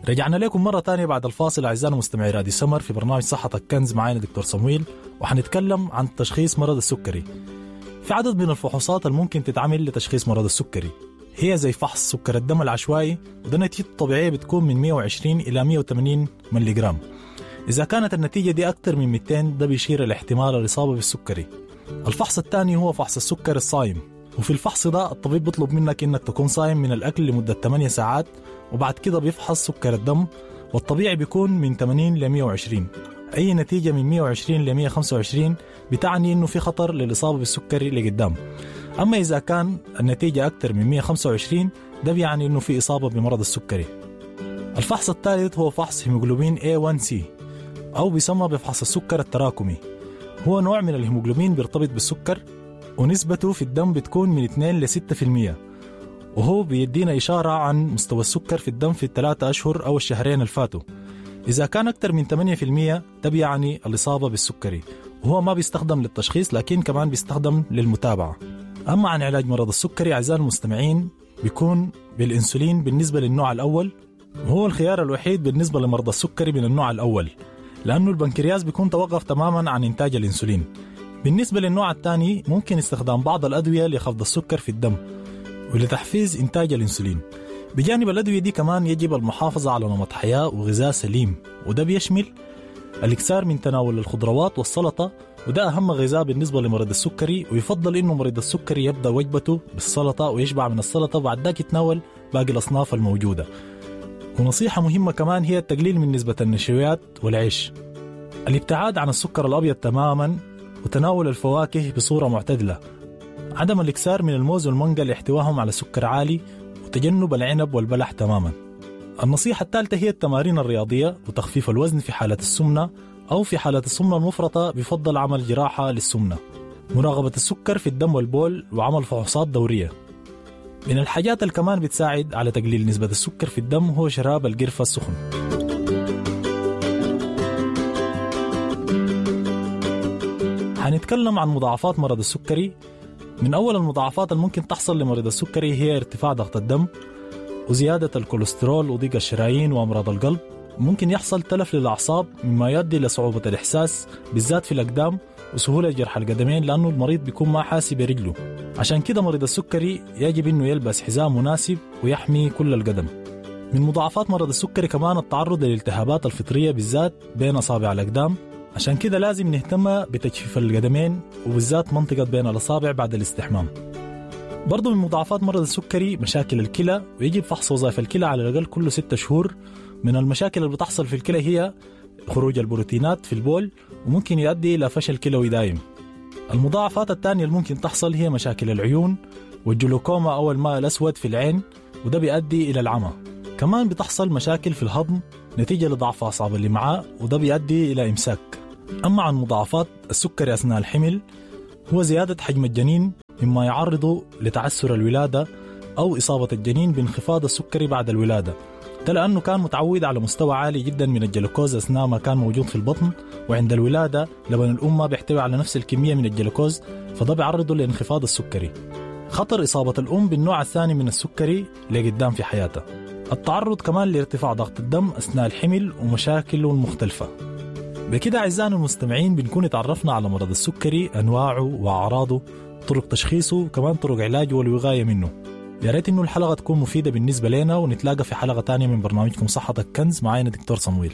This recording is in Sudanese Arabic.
رجعنا لكم مرة تانية بعد الفاصل أعزائنا مستمعي راديو سمر في برنامج صحتك كنز، معانا دكتور صمويل، وحنتكلم عن تشخيص مرض السكري. في عدد من الفحوصات الممكن تتعمل لتشخيص مرض السكري، هي زي فحص سكر الدم العشوائي، وده نتيجته الطبيعية بتكون من 120 إلى 180 ملي جرام. إذا كانت النتيجة دي أكثر من 200 ده بيشير لاحتمال الإصابة بالسكري. الفحص الثاني هو فحص السكر الصايم، وفي الفحص ده الطبيب بيطلب منك إنك تكون صايم من الأكل لمدة 8 ساعات، وبعد كده بيفحص سكر الدم، والطبيعي بيكون من 80 ل 120. أي نتيجة من 120 ل 125 بتعني إنه في خطر للإصابة بالسكري لقدام. أما إذا كان النتيجة أكثر من 125 ده بيعني إنه في إصابة بمرض السكري. الفحص الثالث هو فحص هيموغلوبين A1C، أو بيسمى بفحص السكر التراكمي. هو نوع من الهيموغلوبين بيرتبط بالسكر، ونسبته في الدم بتكون من 2 ل 6%، وهو بيدينا إشارة عن مستوى السكر في الدم في ال3 أشهر أو الشهرين الفاتوا. إذا كان أكثر من 8% ده بيعني الإصابة بالسكري، وهو ما بيستخدم للتشخيص لكن كمان بيستخدم للمتابعة. أما عن علاج مرض السكري أعزائي المستمعين بيكون بالإنسولين بالنسبة للنوع الأول، وهو الخيار الوحيد بالنسبة لمرضى السكري من النوع الأول، لأنه البنكرياس بيكون توقف تماما عن إنتاج الإنسولين. بالنسبة للنوع الثاني ممكن استخدام بعض الأدوية لخفض السكر في الدم ولتحفيز إنتاج الإنسولين. بجانب الأدوية دي كمان يجب المحافظة على نمط حياة وغذاء سليم، وده بيشمل الإكثار من تناول الخضروات والسلطة، وده أهم غذاء بالنسبة لمريض السكري. ويفضل إنه مريض السكري يبدأ وجبته بالسلطة ويشبع من السلطة وبعد ذاك يتناول باقي الأصناف الموجودة. ونصيحة مهمة كمان هي التقليل من نسبة النشويات والعيش، الابتعاد عن السكر الأبيض تماما، وتناول الفواكه بصورة معتدلة، عدم الإكثار من الموز والمانجا لاحتوائهم على سكر عالي، وتجنب العنب والبلح تماما. النصيحة الثالثة هي التمارين الرياضية وتخفيف الوزن في حالة السمنة، أو في حالة السمنة المفرطة بفضل عمل جراحة للسمنة، مراقبة السكر في الدم والبول، وعمل فحوصات دورية. من الحاجات اللي كمان بتساعد على تقليل نسبة السكر في الدم هو شراب القرفة السخن. هنتكلم عن مضاعفات مرض السكري. من أول المضاعفات الممكن تحصل لمريض السكري هي ارتفاع ضغط الدم وزيادة الكوليسترول وضيق الشرايين وأمراض القلب. ممكن يحصل تلف للأعصاب مما يؤدي لصعوبة الإحساس بالذات في الأقدام وسهولة جرح القدمين، لأنه المريض بيكون ما حاسي برجله. عشان كده مريض السكري يجب أنه يلبس حزام مناسب ويحمي كل القدم. من مضاعفات مرض السكري كمان التعرض للالتهابات الفطرية بالذات بين أصابع الأقدام، عشان كده لازم نهتم بتجفيف القدمين وبالذات منطقة بين الأصابع بعد الاستحمام. برضو من مضاعفات مرض السكري مشاكل الكلى، ويجب فحص وظائف الكلى على الأقل كل 6 شهور. من المشاكل اللي بتحصل في الكلى هي خروج البروتينات في البول، وممكن يؤدي إلى فشل كلوي دايم. المضاعفات الثانية اللي ممكن تحصل هي مشاكل العيون والجلوكوما أو الماء الأسود في العين، وده بيؤدي إلى العمى. كمان بتحصل مشاكل في الهضم نتيجة لضعف أعصاب الأمعاء، وده بيؤدي إلى إمساك. أما عن مضاعفات السكري أثناء الحمل هو زيادة حجم الجنين مما يعرضه لتعسر الولادة أو إصابة الجنين بانخفاض السكري بعد الولادة، ده لأنه كان متعود على مستوى عالي جدا من الجلوكوز أثناء ما كان موجود في البطن، وعند الولادة لبن الأم بيحتوي على نفس الكمية من الجلوكوز، فده بيعرضه لانخفاض السكري. خطر إصابة الأم بالنوع الثاني من السكري لقدام في حياتها. التعرض كمان لارتفاع ضغط الدم أثناء الحمل ومشاكله المختلفة. بكده أعزائنا المستمعين بنكون اتعرفنا على مرض السكري، أنواعه وأعراضه، طرق تشخيصه، وكمان طرق علاجه والوقاية منه. يا ريت إنه الحلقة تكون مفيدة بالنسبة لنا، ونتلاقى في حلقة تانية من برنامجكم صحتك كنز. معانا دكتور صمويل.